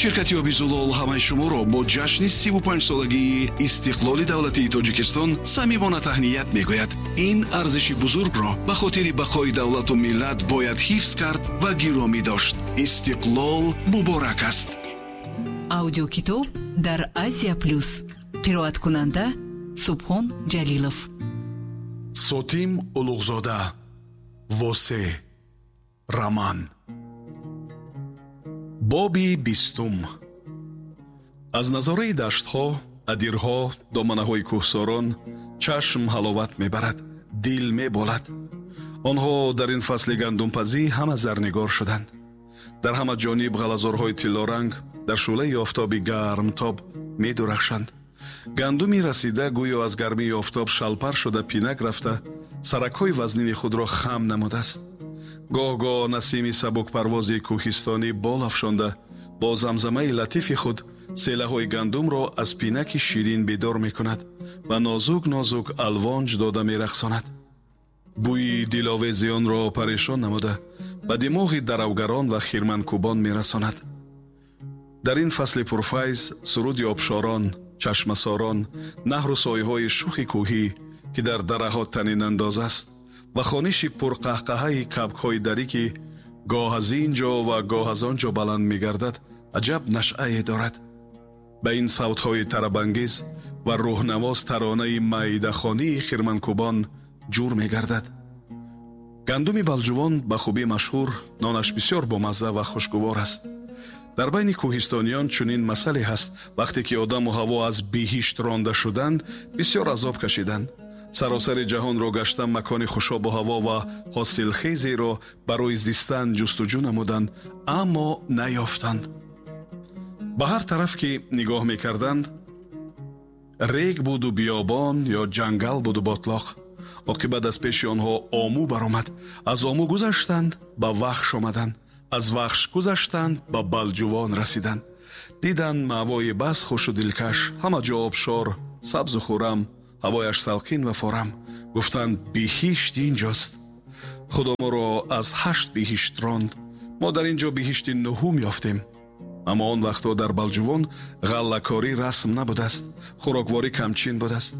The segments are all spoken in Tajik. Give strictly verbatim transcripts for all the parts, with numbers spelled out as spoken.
Ширкати оби Зулол ҳамаи шуморо бо ҷашни сиву панҷ солагии истиқлоли давлатии Тоҷикистон самимона таҳният мегӯяд. Ин арзиши бузургро ба хотири бақои давлату миллат бояд ҳифз кард ва гиромӣ дошт. Истиқлол муборак аст. Аудиокитоб дар Азия Плюс. Қироаткунанда Субҳон Ҷалилов. Сотим Улуғзода. Восе. Роман. Боби бистум. Аз назораи даштҳо, адирҳо, доманаҳои кӯҳсорон чашм ҳаловат мебарад, дил меболад. Онҳо дар ин фасли гандумпазӣ ҳама зарнигор шуданд. Дар ҳама ҷониб ғалазорҳои тиллоранг дар шӯълаи офтоби гармтоб медурахшанд. Гандуми расида гӯё аз гармии офтоб шалпар шуда пинак рафта, саракҳои вазнини худро хам намудааст. Гоҳ-гоҳ насими сабукпарвози кӯҳистонӣ бол афшонда, бо замзамаи латифи худ селаҳои гандумро аз пинаки ширин бедор мекунад ва нозук-нозук алвонҷ дода мерақсонад. Бӯи диловези онро парешон намуда, ба димоғи даравгарон ва хирманкӯбон мерасонад. Дар ин фасли пурфайз суруди обшорон, чашмасорон, наҳру соиҳои шухи кӯҳӣ, ки дар дараҳо танинандоз аст, ва хониши пурқаҳқаҳаи кабкҳои дарӣ, ки гоҳ аз ин ҷо ва гоҳ аз он ҷо баланд мегардад, аҷаб нашъае дорад. Ба ин савтҳои тарабангез ва рӯҳнавоз таронаи маидахонии хирманкӯбон ҷур мегардад. Гандуми Балҷувон ба хубӣ машҳур, нонаш бисёр бомазза ва хушгувор аст. Дар байни кӯҳистониён чунин масъале ҳаст: вақте ки одаму ҳаво аз биҳишт ронда шуданд, бисёр азоб кашиданд. Саросари ҷаҳонро гашта макони хушобу ҳаво ва ҳосилхезеро барои зистан ҷустуҷӯ намуданд, аммо наёфтанд. Ба ҳар тараф ки нигоҳ мекарданд, рег буду биёбон ё ҷангал буду ботлоқ. Оқибат аз пеши онҳо Ому баромад. Аз Ому гузаштанд, ба Вахш омаданд. Аз Вахш гузаштанд, ба Балҷувон расиданд. Диданд маъвои бас хушу дилкаш, ҳама ҷо обшор, сабзу хуррам, ҳавояш салқин ва форам. Гуфтанд биҳишт инҷост. Худо моро аз ҳашт биҳишт ронд. Мо дар ин ҷо биҳишти нуҳум ёфтем. Аммо он вақтҳо дар Балҷувон ғаллакорӣ расм набудааст, хӯрокворӣ камчин будааст.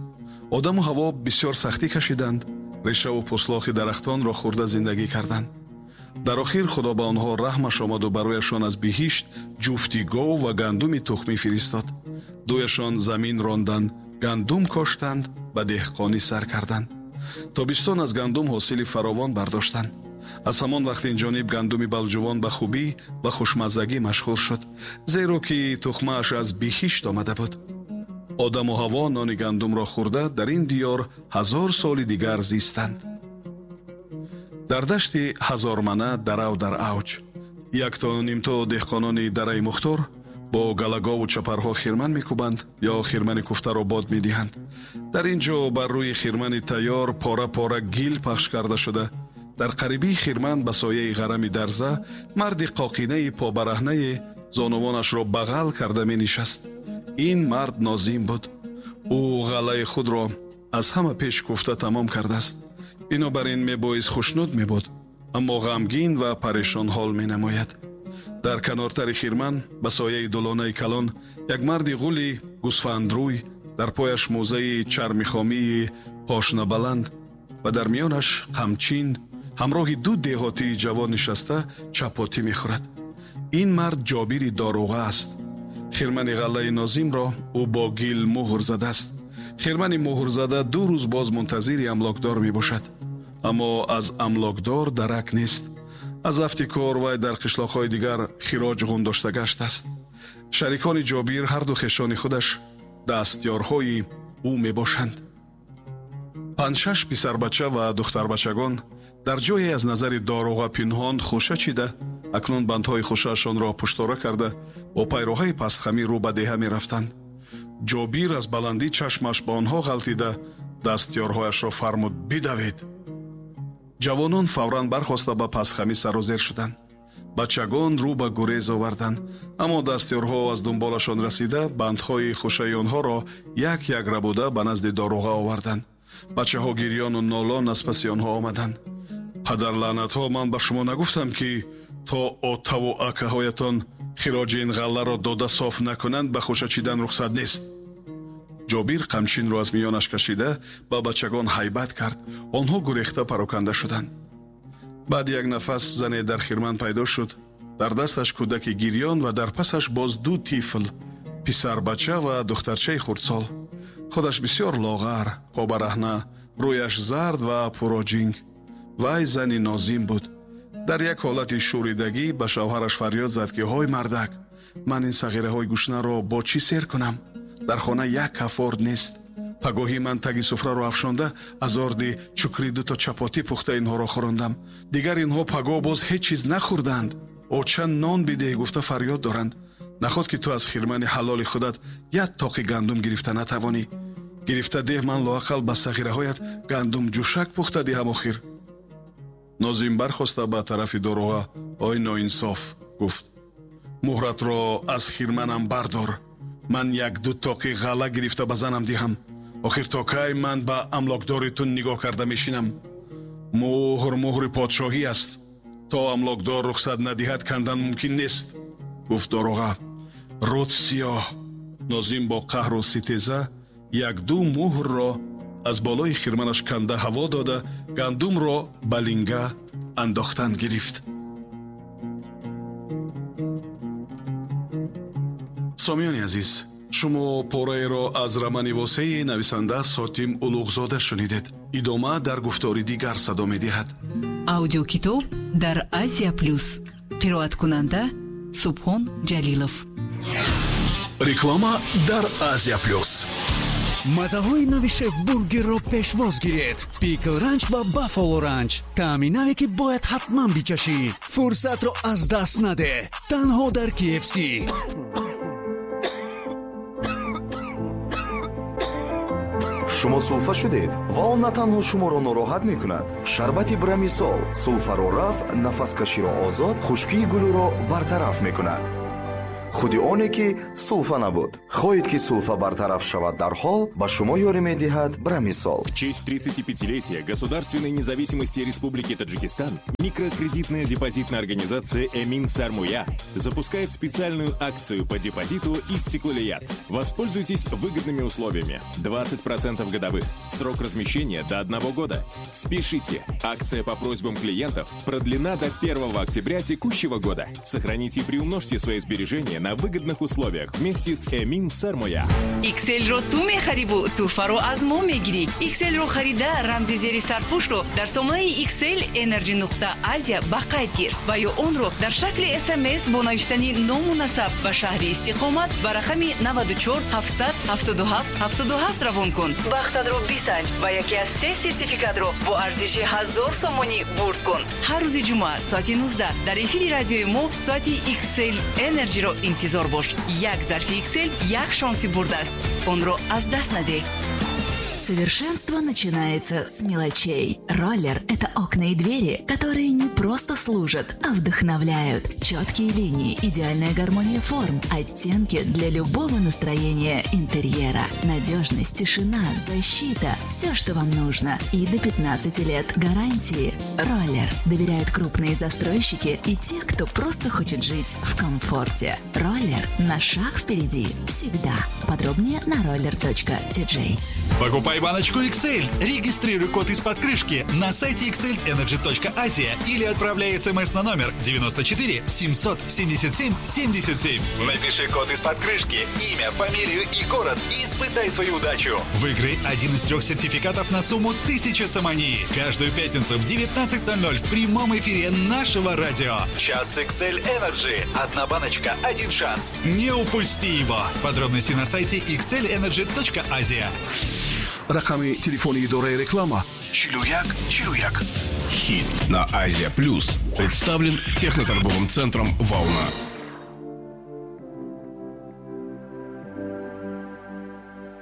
Одаму ҳаво бисёр сахтӣ кашиданд, решаву пуслохи дарахтонро хӯрда зиндагӣ карданд. Дар охир Худо ба онҳо раҳмаш омаду барояшон аз биҳишт ҷуфти гов ва гандуми тухмӣ фиристод. Дуяшон замин ронданд, гандум коштанд, ба деҳқонӣ сар карданд. Тобистон аз гандум ҳосили фаровон бардоштанд. Аз ҳамон вақт ин ҷониб гандуми Балҷувон ба хубӣ ва хушмаззагӣ машҳур шуд, зеро ки тухмааш аз биҳишт омада буд. Одаму ҳаво нони гандумро хӯрда дар ин диёр ҳазор соли дигар зистанд. Дар дашти ҳазормана дарав дар авҷ якто нимто деҳқонони дараи Мухтор бо галагову чапарҳо хирман мекӯбанд ё хирмани куфтаро бод медиҳанд. Дар ин ҷо бар рӯи хирмани тайёр пора-пора гил пахш карда шуда, дар қарибии хирман ба сояи ғарами дарза марди қоқинаи побараҳнае зонувонашро бағал карда менишаст. Ин мард Нозим буд. Ӯ ғаллаи худро аз ҳама пеш куфта тамом кардааст. Бинобар ин мебоист хушнуд мебуд, аммо ғамгин ва парешонҳол менамояд. Дар канортари хирман ба сояи дулонаи калон як марди ғули гӯсфандрӯй, дар пояш мӯзаи чармихомии пошнабаланд ва дар миёнаш қамчин, ҳамроҳи ду деҳотии ҷавон нишаста чапотӣ мехӯрад. Ин мард Ҷобири доруға аст. Хирмани ғаллаи Нозимро ӯ бо гил муҳр задааст. Хирмани муҳрзада ду рӯз боз мунтазири амлокдор мебошад, аммо аз амлокдор дарак нест. Аз афти кор вай дар қишлоқҳои дигар хироҷ ғундошта гаштааст. Шарикони Ҷобир ҳарду хешони худаш дастёрҳои ӯ мебошанд. Панҷшаш писарбача ва духтарбачагон дар ҷое аз назари доруға пинҳон хуша чида, акнун бандҳои хушаашонро пуштора карда бо пайроҳаи пастхамӣ рӯ ба деҳа мерафтанд. Ҷобир аз баландӣ чашмаш ба онҳо ғалтида, дастёрҳояшро фармуд: бидавед. Ҷавонон фавран бархоста ба пастхамӣ сарозер шуданд. Бачагон рӯ ба гурез оварданд, аммо дастёрҳо аз дунболашон расида бандҳои хушаи онҳоро як-як рабуда ба назди доруға оварданд. Бачаҳо гирёну нолон аз паси онҳо омаданд. Падарлаънатҳо, ман ба шумо нагуфтам, ки то отаву акаҳоятон Хироҷи ин ғалларо дода соф накунанд, ба хӯша чидан рухсат нест. Ҷобир қамчинро аз миёнаш кашида ба бачагон ҳайбат кард. Онҳо гурехта пароканда шуданд. Баъд як нафас зане дар хирман пайдо шуд. Дар дасташ кӯдаки гирён ва дар пасаш боз ду тифл, писарбача ва духтарчаи хурдсол. Худаш бисёр лоғар, побараҳна, рӯяш зард ва пуроҷинг. Вай зани нозим буд. Дар як ҳолати шӯридагӣ ба шавҳараш фарёд зад, ки ҳой мардак, ман ин сағираҳои гушнаро бо чӣ сер кунам? Дар хона як каф орд нест. Пагоҳӣ ман таги суфраро афшонда аз орди чукри дуто чапотӣ пухта инҳоро хӯрондам. Дигар инҳо пагоҳ боз ҳеҷ чиз нахӯрданд. Оча нон бидеҳ гуфта фарёд доранд. Наход ки ту аз хирмани ҳалоли худат як тоқи гандум гирифта натавонӣ. Гирифта деҳ, ман лоақал ба сағираҳоят гандум ҷӯшак пухта диҳам охир. Нозим бархоста ба тарафи дорога ой ноинсоф гуфт: муҳратро аз хирманам бардор. Ман як-ду тоқи ғалла гирифта ба занам диҳам. Охир то кай ман ба амлокдори ту нигоҳ карда мешинам? Муҳр муҳри подшоҳӣ аст. То амлокдор рухсат надиҳад, кандан мумкин нест, гуфт дорога. Рӯд сиёҳ. Нозим бо қаҳру ситеза як-ду муҳрро аз болои хирманаш канда ҳаво дода, гандумро ба линга андохтан гирифт. Сомиёни азиз, шумо пораеро аз романи восеи нависанда Сотим Улуғзода шунидед. Идома дар гуфтори дигар садо медиҳад. Аудиокитоб дар Азия Плюс. Қироаткунанда Субҳон Ҷалилов. Реклама дар Азия Плюс. Мазаҳои нави шеф-бургерро пешвоз гиред. Пикл ранч ва баффало ранч. Таъми наве, ки бояд ҳатман бичашӣ. Фурсатро аз даст надеҳ. Танҳо дар K F C. Шумо сулфа шудед ва он на танҳо шуморо нороҳат мекунад. Шарбати Брамисол сулфаро рафъ, нафаскаширо озод, хушкии гулӯро бартараф мекунад. Худи оне ки сулфа набуд. Хоҳед ки сулфа бартараф шавад дарҳол, ба шумо ёрӣ медиҳад Брамисол. В честь тридцатипятилетия государственной независимости Республики Таджикистан микрокредитная депозитная организация «Эмин Сармуя» запускает специальную акцию по депозиту «Истиклолият». Воспользуйтесь выгодными условиями. двадцать процентов годовых. Срок размещения до одного года. Спешите! Акция по просьбам клиентов продлена до первого октября текущего года. Сохраните и приумножьте свои сбережения на выгодных условиях вместе с Эмин Сармоя. Икселро ту мехариву туҳфаро аз мо мегирӣ. Икселро харида рамзи зери сарпӯшро дар сомонаи Иксел Energy нуқта Азия ба қайд гир ва ё онро дар шакли С М С бо навиштани ному насаб ба шаҳри истиқомат ба рақами наваду чор ҳафтсад ҳафтоду ҳафт ҳафтоду ҳафт равон кун. Бахтатро бисанҷ ва яке аз се сертификатро бо арзиши ҳазор сомонӣ бурд кун. Ҳар рӯзи ҷумъа соати нуздаҳ дар эфири радиои мо соати Иксел Energy-ро интизор бош. Як зарфи Иксел як шонси бурдааст. Онро аз даст надеҳ. Совершенство начинается с мелочей. Роллер – это окна и двери, которые не просто служат, а вдохновляют. Четкие линии, идеальная гармония форм, оттенки для любого настроения интерьера. Надежность, тишина, защита – все, что вам нужно. И до пятнадцати лет гарантии. Роллер доверяют крупные застройщики и те, кто просто хочет жить в комфорте. Роллер на шаг впереди всегда. Подробнее на roller точка ти джей. Покупай баночку X L. Регистрируй код из-под крышки на сайте X L Energy точка Asia или отправляй смс на номер девяносто четыре семьсот семьдесят семь семьдесят семь. Напиши код из-под крышки, имя, фамилию и город и испытай свою удачу. Выиграй один из трех сертификатов на сумму тысяча сомони. Каждую пятницу в девятнадцать ноль ноль в прямом эфире нашего радио. Час X L Energy. Одна баночка, один шанс. Не упусти его. Подробности на сайте X L Energy точка Asia. Рақами телефони идораи реклама чилу як чилу як. Хит на Азия Плюс представлен техноторговым центром «Волна».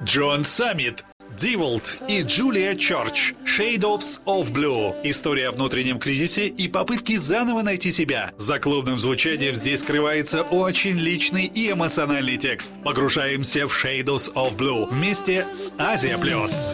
Джон Саммит, Диволт и Джулия Чорч. Shades of Blue. История о внутреннем кризисе и попытке заново найти себя. За клубным звучанием здесь скрывается очень личный и эмоциональный текст. Погружаемся в Shades of Blue вместе с Азия Плюс.